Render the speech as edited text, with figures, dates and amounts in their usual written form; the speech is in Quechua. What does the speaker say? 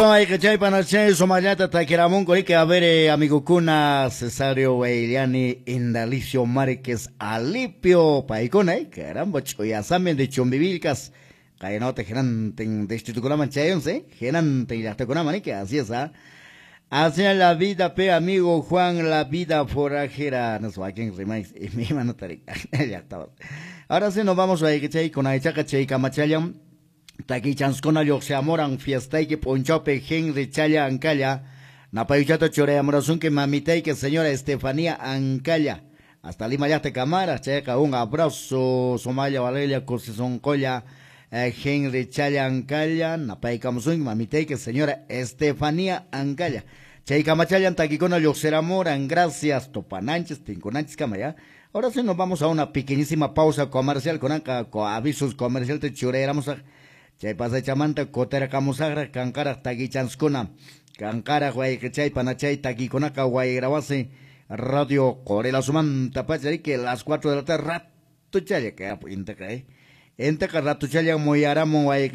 Bonito, hay que chay panachay somallata takiramunku riki. A ver, amigokuna, Cesario Weiliani, Indalicio Márquez, Alipio, paykuna, caramba, chuyasami de Chumbivilcas. Kaynota hinantin distritukunaman chayunse, hinantin llaqtakunaman, riki, así es, ¿ah? Así es la vida, pe amigo Juan, la vida forajera. No sé, aquí rimáis, y mi mano. Ahora sí nos vamos a chay con aychaqa chay kamachallam. Takichanskuna lluqsiamuran fiestayki p'unchawpi Henry Challa Ancalla. Napayuchata churayamurasunki mamitayki señora Estefanía Ancalla. Hasta Lima llaqta kamara, chayqa un abrazo, sumalla valeria kusisunqulla, Henry Challa Ancalla, napaykamusunki mamitayki señora Estefanía Ancalla. Chay kamachallan takikuna lluqsiramuran, gracias, tupananchis, tinkunanchis kama ya. Ahora sí nos vamos a una pequeñísima pausa comercial, con avisos comercial te churayaramos. Chay pasachamanta kutirqamusaqraq kanqaraq takichanskuna, kanqaraq wayqichay panachay takikunaqa wayrawasi Radio Qorilasumanta pacha, que las 4 de la tarde ratuchalla que intaqa intaqa ratuchalla muyaramun.